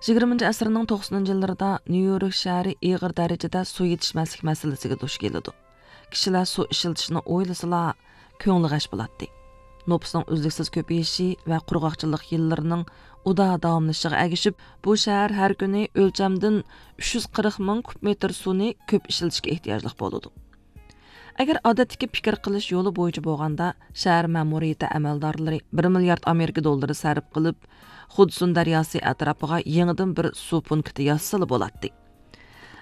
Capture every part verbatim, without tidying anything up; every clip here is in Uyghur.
يىگىرمىنچى ئەسىرنىڭ توقسىنىنچى يىللىرىدا نيۇ يورك شەھىرى ئېغىر دەرىجىدە سۇ يېتىشمەسلىك مەسىلىسىگە دۇچ كېلىدۇ. كىشىلەر سۇ ئىشلىتىشنى ئويلىسىلا، كۆڭلى غەش بولاتتى. نوپۇسنىڭ ئۈزلۈكسىز كۆپىيىشى ۋە قۇرغاقچىلىق يىللىرىنىڭ ئۇدا داۋاملىشىشىغا ئەگىشىپ، بۇ شەھەر ھەر كۈنى ئۆلچەمدىن ئۈچ يۈز قىرىق مىڭ كۇب مېتىر سۇنى كۆپ ئىشلىتىشكە ئېھتىياجلىق بولىدۇ. ئەگەر ئادەتتىكى پىكىر قىلىش يولى بويىچە بولغاندا، شەھەر مەمۇرىيىتى ئەمەلدارلىرى بىر مىليارد ئامېرىكا دوللىرى سەرپ قىلىپ، خۇدسۇن دەرياسى ئەتراپىغا يېڭىدىن بىر سۇ پونكىتى ياسىسىلا بولاتتى.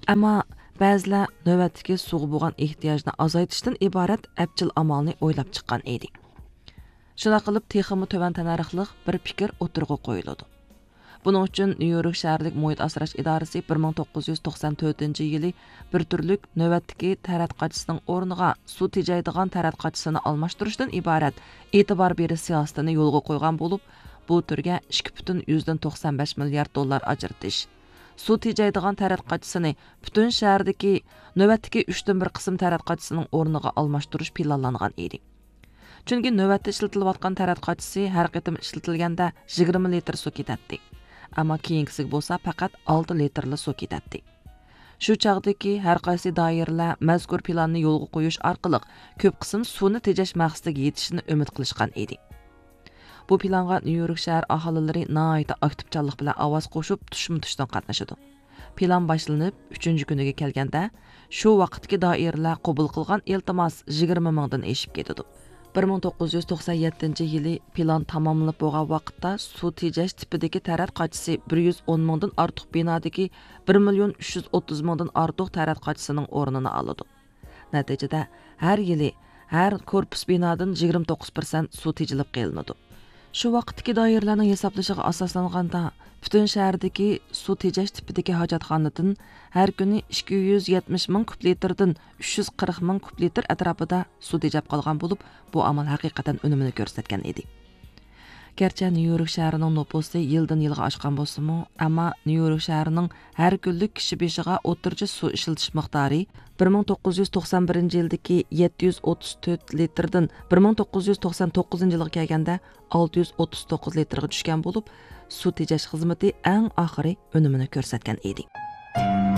ئەمما بەزىلەر نۆۋەتتىكى سۇغا بولغان ئېھتىياجنى ئازايتىشتىن ئىبارەت ئەپچىل ئامالنى ئويلاپ چىققان ئىدى. شۇنداق قىلىپ، تېخىمۇ تۆۋەن تەننەرخلىق بىر پىكىر ئوتتۇرىغا قويۇلىدۇ. بۇنىڭ ئۈچۈن نيۇ يورك شەھەرلىك مۇھىت ئاسراش ئىدارىسى بىر مىڭ توققۇز يۈز توقسان تۆتىنچى يىلى بىر تۈرلۈك نۆۋەتتىكى تەرەت قاچىسىنىڭ ئورنىغا سۇ تېجەيدىغان تەرەت قاچىسىنى ئالماشتۇرۇشتىن ئىبارەت ئېتىبار بېرىش سىياسىتىنى يولغا قويغان بولۇپ، بۇ تۈرگە ئىككى پۈتۈن يۈزدىن توقسان بەش مىليارد دوللار ئاجرىتىش، سۇ تېجەيدىغان تەرەت قاچىسىنى پۈتۈن شەھەردىكى نۆۋەتتىكى ئۈچتىن بىر قىسىم تەرەت قاچىسىنىڭ ئورنىغا ئالماشتۇرۇش پىلانلانغان ئىدى. چۈنكى نۆۋەتتە ئىشلىتىلىۋاتقان تەرەت قاچىسى ھەر قېتىم ئىشلىتىلگەندە يىگىرمە لىتىر سۇ كېتەتتى. ئەمما كېيىنكىسىگە بولسا پەقەت ئالتە لىتىرلا سۇ كېتەتتى. شۇ چاغدىكى ھەر قايسى دائىرىلەر مەزكۇر پىلاننى يولغا قويۇش ئارقىلىق كۆپ قىسىم سۇنى تېجەش مەقسىتىگە يېتىشىشىنى ئۈمىد قىلىشقان ئىدى. بۇ پىلانغا نيۇ يورك شەھەر ئاھالىلىرى ناھايىتى ئاكتىپچانلىق بىلەن ئاۋاز قوشۇپ، تۇشمۇتۇشتىن قاتنىشىدۇ. پىلان باشلىنىپ ئۈچىنچى كۈنىگە كەلگەندە، شۇ ۋاقىتتىكى دائىرىلەر قوبۇل قىلغان ئىلتىماس يىگىرمە مىڭدىن ئېشىپ كېتىدۇ. بىر مىڭ توققۇز يۈز توقسان يەتتىنچى يىلى پىلان تاماملىنىپ بولغان ۋاقىتتا، سۇ تېجەش تىپىدىكى تەرەت قاچىسى بىر يۈز ئون مىڭدىن ئارتۇق بىنادىكى بىر مىليون ئۈچ يۈز ئوتتۇز مىڭدىن ئارتۇق تەرەت قاچىسىنىڭ ئورنىنى ئالىدۇ. نەتىجىدە، ھەر يىلى ھەر كورپۇس بىنادىن يىگىرمە توققۇز پىرسەنت سۇ تېجىلىپ قېلىنىدۇ. شۇ ۋاقىتتىكى دائىرىلەرنىڭ ھېسابلىشىغا ئاساسلانغاندا، پۈتۈن شەھەردىكى سۇ تېجەش تىپىدىكى ھاجەتخانىدىن ھەر كۈنى ئىككى يۈز يەتمىش مىڭ كۇب لىتىردىن ئۈچ يۈز قىرىق مىڭ كۇب لىتىر ئەتراپىدا سۇ تېجەپ قالغان بولۇپ، بۇ ئامال ھەقىقەتەن ئۈنۈمىنى كۆرسەتكەن ئىدى. گەرچە نيۇ يورك شەھىرىنىڭ نوپۇسى يىلدىن يىلغا ئاشقان بولسىمۇ، ئەمما نيۇ يورك شەھىرىنىڭ ھەر كۈنلۈك كىشى بېشىغا ئوتتۇرىچە سۇ ئىشلىتىش مىقدارى بىر مىڭ توققۇز يۈز توقسان بىرىنچى يىلدىكى يەتتە يۈز ئوتتۇز تۆت لىتىردىن بىر مىڭ توققۇز يۈز توقسان توققۇزىنچى يىلغا كەلگەندە ئالتە يۈز ئوتتۇز توققۇز لىتىرغا چۈشكەن بولۇپ، سۇ تېجەش خىزمىتى ئەڭ ئاخىرى ئۈنۈمىنى كۆرسەتكەن ئىدى.